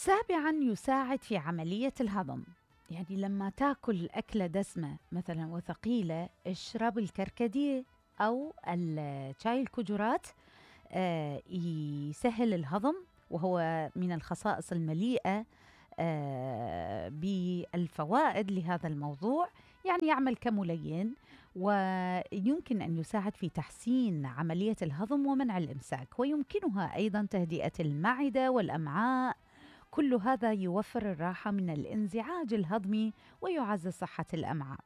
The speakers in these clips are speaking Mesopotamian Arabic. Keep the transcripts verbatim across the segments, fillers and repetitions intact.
سابعاً، يساعد في عملية الهضم. يعني لما تاكل أكلة دسمة مثلاً وثقيلة، اشرب الكركديه أو الشاي الكجرات، آه يسهل الهضم، وهو من الخصائص المليئة آه بالفوائد لهذا الموضوع. يعني يعمل كملين، ويمكن أن يساعد في تحسين عملية الهضم ومنع الإمساك، ويمكنها أيضاً تهدئة المعدة والأمعاء. كل هذا يوفر الراحة من الانزعاج الهضمي ويعزز صحة الأمعاء.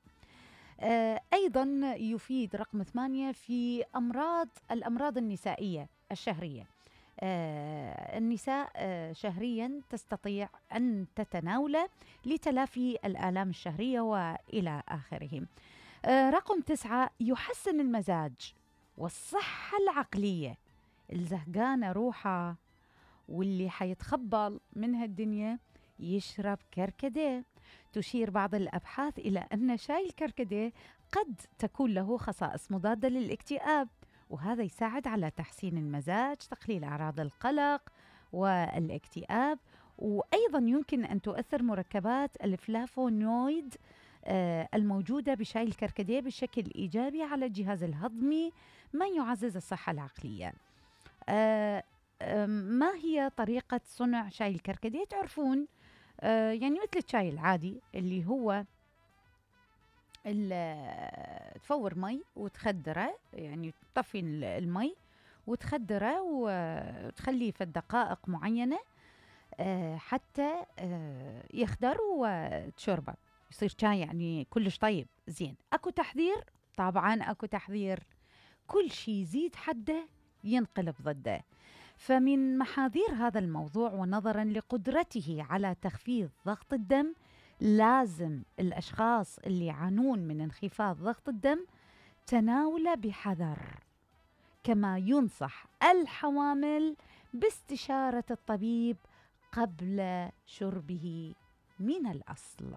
آه أيضاً يفيد رقم ثمانية في أمراض الأمراض النسائية الشهرية. آه النساء آه شهرياً تستطيع أن تتناوله لتلافي الآلام الشهرية وإلى آخره. آه رقم تسعة، يحسن المزاج والصحة العقلية. الزهقانة روحة واللي حيتخبل من هالدنيا يشرب كركديه. تشير بعض الأبحاث إلى أن شاي الكركديه قد تكون له خصائص مضادة للاكتئاب، وهذا يساعد على تحسين المزاج، تقليل أعراض القلق والاكتئاب. وأيضا يمكن أن تؤثر مركبات الفلافونويد آه الموجودة بشاي الكركديه بشكل إيجابي على الجهاز الهضمي، ما يعزز الصحة العقلية. آه ما هي طريقة صنع شاي الكركديه؟ تعرفون آه يعني مثل الشاي العادي اللي هو تفور مي وتخدره، يعني تطفي المي وتخدره وتخليه في دقائق معينة آه حتى آه يخدر وتشربه، يصير شاي يعني كلش طيب زين. أكو تحذير؟ طبعا أكو تحذير. كل شي يزيد حده ينقلب ضده. فمن محاذير هذا الموضوع ونظراً لقدرته على تخفيض ضغط الدم، لازم الأشخاص اللي يعانون من انخفاض ضغط الدم تناوله بحذر، كما ينصح الحوامل باستشارة الطبيب قبل شربه من الأصل.